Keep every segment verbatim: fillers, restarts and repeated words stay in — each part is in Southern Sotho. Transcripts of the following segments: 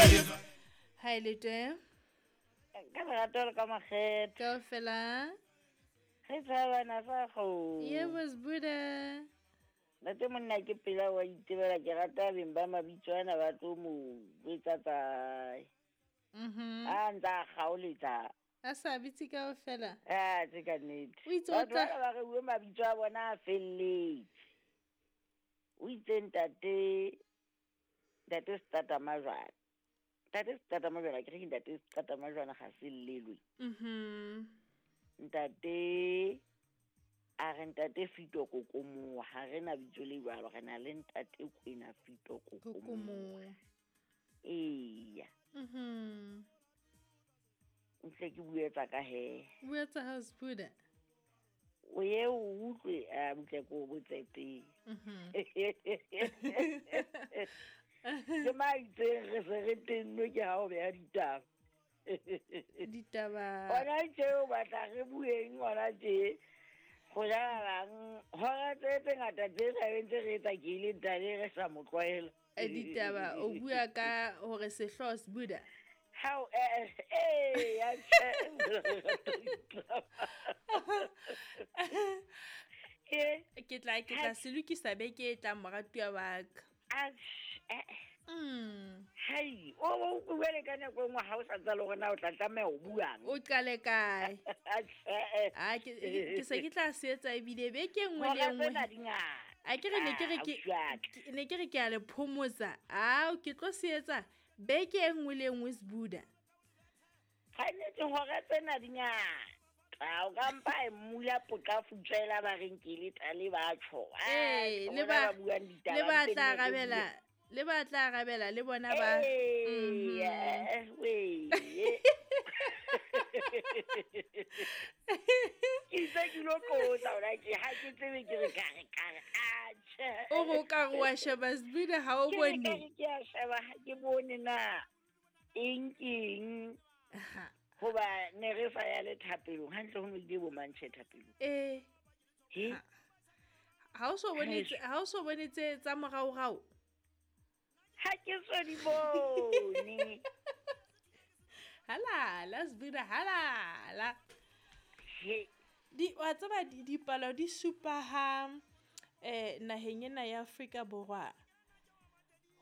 Hi Lete. Ka lerato le ka makgetho. Kaofela. Re tshabana sa go. Yebo Sbuda. Ntate monna ke pela wa itebela ke rata beng ba mabitso ana ba tlo mo betsa tsae. Mhm. A ntsa kgaoletsa. A sa bitse kaofela. Ah, tse ka nnete. O itse o tla Batho ba re bue mabitso a bona a felletse. O itse ntate ntate Setata Majwana. Ntate Setata Majwana ke re ke ntate Setata Majwana ga se llelwe. Mhm. Ntate a re ntate Fito Kokomoa, ha re na bitso le jwalo, re na le ntate Kwena Fito Kokomoa. Kokomoa. Eya. Mhm. Ntle ke bue tsa ka he. Bua tsa hao Sbuda. O ye o utlwe a butle ko botse pele. Mhm. Ke maitseng re se re tennwe ke ha o beha ditaba. Ditaba. Hona tje o batla re bueng hona tje. Go jalang hora tse tse ngata tse re ntse re etsa ke ile ntate re sa mo tlwaela. E ditaba o bua ka hore sehlooho Sbuda. How eh eh ya tjhe. Eh Ke tla ke tla se lokisa beke e tlang moratuwa wa ka. Ah, Mm. Hai, o o buele ka nako e nngwe ha o sa tsale hore na o tla tlameha ho buang. O qale kae? Atjhe. Ah, ke ke se ke tla se etsa ebile beke e nngwe le Hora e nngwe. tsena di ngata. A ke re ne ke re Ah, ke ausi wa ka. ke- ne ke re ke a le phomotsa. Ao ke tlo se etsa beke e nngwe le e nngwe Sbuda. Tshwanetse hora tsena di ngata. O ka mpa e mmula poka futswela ba reng ke le tale ba tjho. Ah, Eh, ke le bona ba ba buang ditaba le ba mpe tla nne re arabela, bue. le ba tla arabela le bona ba. Eh, Mhm. eh, wee. Ke itse ke lo qotsa hona tje, ha ke tsebe ke re ka re ka re, ah, tjhe. O re o ka re wa sheba Sbuda ha o Ke re bone. ka re ke a sheba, ha ke bone na eng ke eng. Ha. Hoba ne re sa ya le thapelong, hantle ho no ile bo mantjhe thapelong. Eh. He? Ha. Ha o so bone Haeso. tse, ha o so bone tse tsa moraorao? Ha ke so di bone. Halala Sbuda, halala. He. Di wa tseba di dipalo di supa ha eh naheng ena ya Afrika Borwa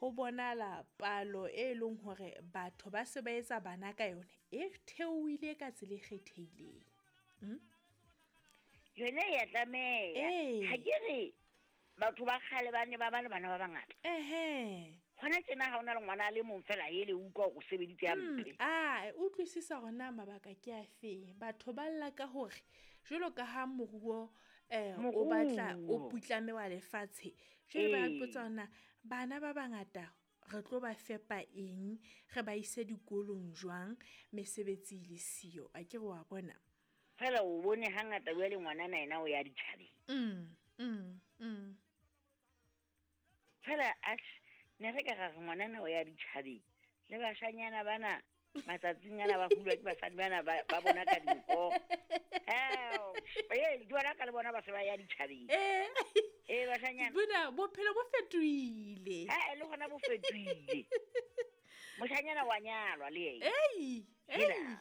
ho bonala palo e leng hore batho ba se ba etsa bana ka yone e theohile ka tsela e kgethehileng. Mm? Yone ya tlameha. Ee. Ha ke re batho ba kgale ba ne ba ba le bana ba bangata. Ehe. Hona tjena ha ona le ngwana a le mong fela ele utlwa hore o sebeditse Mm, hampe. ah, utlwisisa hore na mabaka ke afe. Batho ba lla ka hore jwalo ka ha moruo eh o batla o Moruo. putlame wa lefatshe. Jwale ba Ee. ipotsa hore na bana ba bangata re tlo ba fepa eng, re ba ise dikolong jwang, mesebetsi e le siyo. A ke re wa bona. Fela o bone hangata jwale ngwanana yena o ya ditjhabeng. Mm, mm, mm. Fela atjhe, ne re ka ra re ngwanana o ya ditjhabeng. Le bashanyana bana matsatsing ana ba hulwa ke basadi bana ba, ba bona ka dinko. Hao, eh, di bona ka le bona ba se ba ya ditjhabeng. Eh. Eh, bashanyana. Sbuda, bophelo bo fetohile. Ha, le hona bo fetohile. Moshanyana wa nyalwa le yena. Ei, ei. Hela.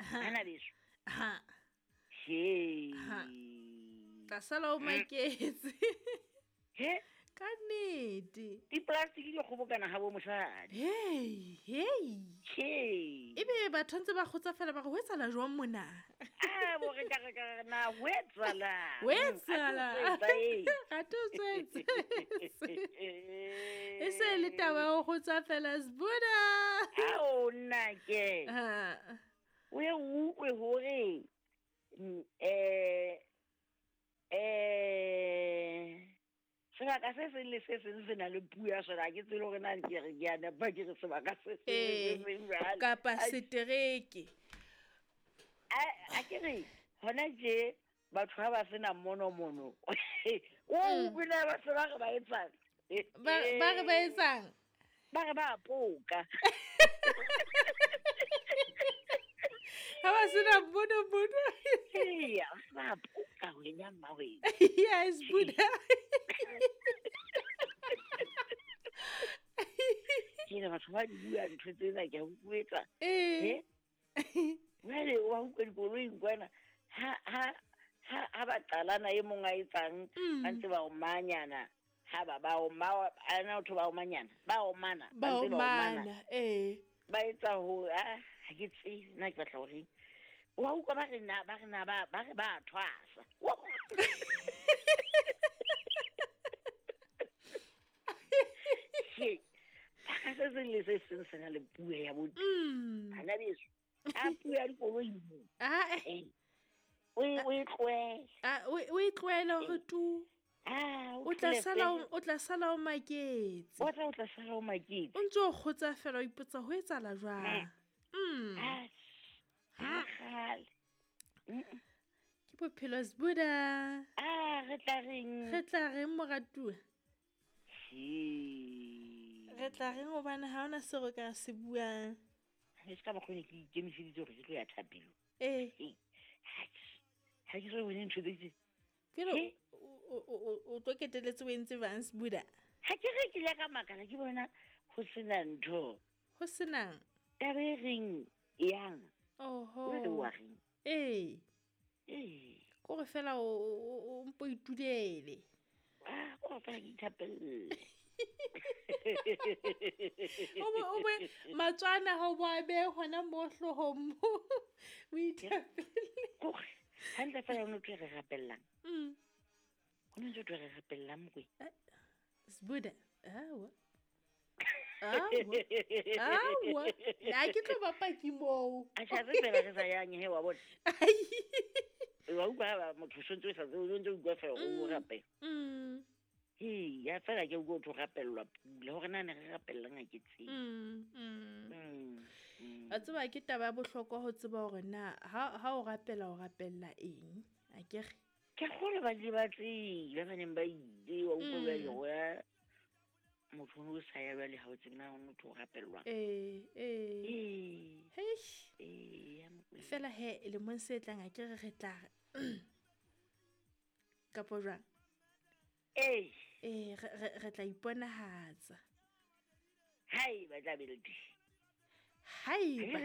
Ha. Hana beso. Ha. He. Ha. Tla sala o maketse. He. Ka nnete. Di-plastic di kgobokana ha bo mosadi. Hey, hey. He. Ebe batho ntse ba kgotsofala ba re ho etsahala jwang mona? Ah, bo re ka re ka re na ho etsahala. Ho etsahala. Mm, a tlo tswetsa, ee. Ga tlo tswetse. E se le taba ya ho kgotsofala Sbuda. Ao nna ke. Ha. O ye o utlwe hore, mm, eh, eh, sebaka se seng le se seng se na le puo ya sona. Ha ke tsebe hore na ke re ke a nepa, ke re sebaka se seng le Eh, se seng jwale. kapa Ai. setereke. A, a ke re, hona tje, batho ha ba sena monomono. O Mm. utlwe na ba se ba re ba etsang? Ba, ba re ba etsang? Ba re ba poka. Ha ba sena monomono. Eya, ba poka wena mma wena. Yes, Buddha. Ke Hela batho ba di bua ntho tsena ke a utlwetsa. Ee. Jwale wa utlwa dikoloing kwana ha ha ha ha ba qalana e mong a etsang ba ntse ba omanyana ha ba ba oma ana otho ba omanyana ba omana ba omana eh ba etsa ho ah ha ke tsebe nna ke batla hore wa utlwa ba re na ba re na ba ba re ba thwasa. Ke ka se seng le se seng se na le puo ya botho. Bana beso a puo ya dikoloi ah eh o o e tlohele ah o e tlohele hore tu ah o tla sala o tla sala o maketse o tla o tla sala o maketse o ntse o kgotsa fela o ipotsa ho etsahala jwang. Mm ha kgale ke bophelo Sbuda. Ah re tla reng re tla reng moratuwa re tla reng hobane ha ona se re ka se buang. Ha se ka mokgwa ke ikemiseditse hore ke tlo ya thapelo. Eh ha ke so bone ntho tse ke re o tlo keteletse o entse bang Sbuda. Ha ke re ke ile ka makala ke bona ho sena ntho ho senang taba e reng yang. Oho wa reng ee ee ko re fela o mpo itulele ah ko fela ke ithapelle. O bo o bo matswana ha o bo a behe hona mo hloohong mo o ithapelle. Kore hantle fela o no tlo re rapellang. Mm ho no tlo re rapellang mokwe Sbuda. Awa awa awa na ke tlo ba paki moo. A tjha re fela re sa yang he wa bona. Wa utlwa motho o ntse o sa o ntse o utlwa fela o rapela. Mm Ee, ya fela ke utlwa ho rapellwa pula hore na ne re rapellang ha ke tsebe. Mm mm A tseba ke taba ya bohlokwa ho tseba hore na ha ha o rapela o rapella eng a ke re ke kgolo ba le ba tsebe ba neng ba ile wa utlwa ba ya motho o sa ya jwale ha o tsebe na o motho o rapellwang. Eh eh ee heish ee ya Mokwena. Fela he lemong se tlang a ke re re tla kapo jwang. Ee ee re re tla iponahatsa hai ba tla be le teng haeba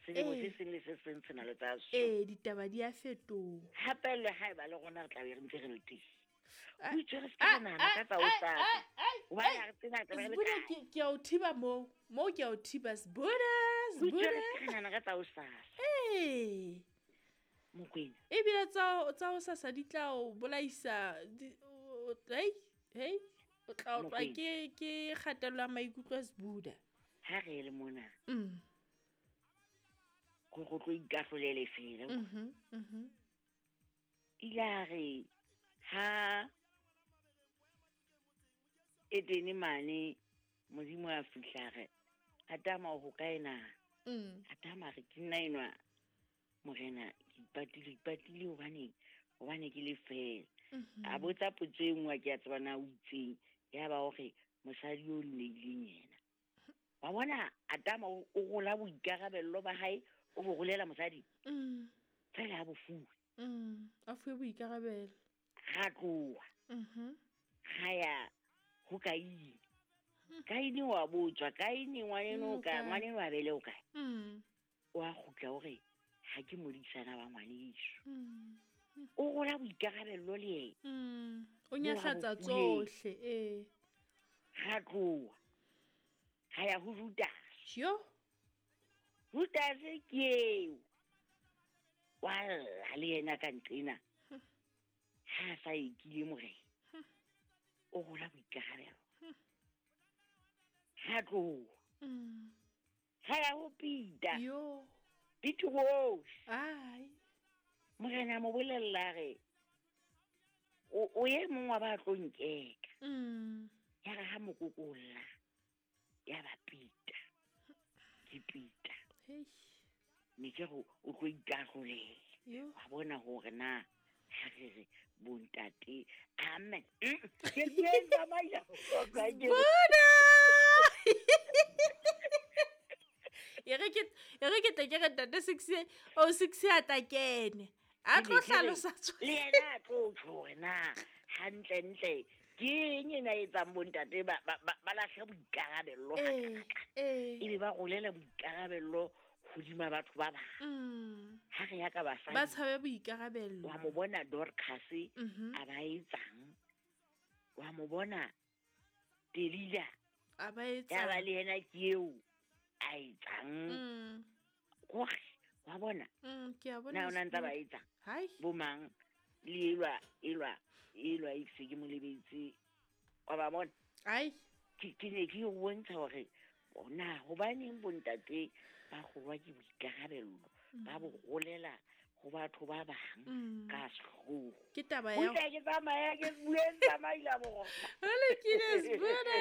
selemo se seng le se seng se na le tsa so. Ee ditaba di a fetoha hape le haeba le rona re tla be re ntse re le teng. O itse re se ka nahana ka tsa hosasa hobane ha re tsena tla be re le Sbuda kae. ke ke a o thiba moo moo ke a o thiba Sbuda O itse Sbuda re se ka nahana ka tsa hosasa. Ee Mokwena ebile tsa tsa hosasa di tla o bolaisa hei hei o tla otlwa Mokwena ke ke kgatello ya maikutlo a Sbuda. Ha re le mona Mm go go tlo ikahlolele fela. Mhm mhm Ile a re ha Edene mane Modimo a fihla re Adama o hokae na? Mm Adama re ke nna enwa morena ke ipatile ipatile hobane hobane ke le fela. A botsa potso e nngwe ke a tseba na o itseng ya ba hore mosadi o nneileng yena. Wa bona Adama o rola boikarabello ba hae o bo rolela mosadi. Mm Fela ha bo fuwe. Mm a fuwe boikarabelo. Ra tloha. Mhm Ra ya ho Kaine. Kaine wa botswa Kaine ngwaneno ka ngwaneno a bele o kae. Mm O a kgutla hore ha ke modisana wa ngwaneso. Mm O rola boikarabello le yena. Mm o nyahlatsa tsohle ee. Ra tloha. Ra ya ho Judas. Yo Judas ke eo. Wa lla le yena ka nqena. Ha sa ekile morena. O rola boikarabelo. Ha tloha. Mm Ha ya ho Peter. Yo Petros. Ai Morena mo bolella re o o ye mong wa ba tlo nkeka. Mm Ya re ha mokokolla ya ba Peter. Ke Peter. Hei Ne ke re o tlo ikahlolela. Yo Wa bona hore na ha re re bontate amen. Ke ke tsamaya. Sbuda E re ke e re ke tle ke re ntate six o six a tla kene. A tlo hlalosa Le yena a tlo tjho hore na hantle ntle Ke eng ena e etsang bontate ba ba ba ba lahle boikarabello Ee, ee. ebe ba rolela boikarabello hodima batho ba bang? Mm. Ha re ya ka Ba basadi, tshabe boikarabello. wa mo bona Dorcas Mhm. a ba etsang, wa mo bona Delila A ba ya ba etsang. le yena ke eo a etsang. Mm. Hore wa bona Mm, ke a bona na o na ntsa ba Sbuda. etsang Hai. bo mang le elwa elwa elwa e se ke mo lebetse, wa ba bona? Ai. Ke ke ne ke o bontsha hore na hobaneng bontate ba kgolwa ke boikarabello, ba bo rolela ho batho ba bang Mm. ka sehloho. Ke taba ya Butle ke tsamaya ke bueng tsamaila borona. Ho lokile Sbuda.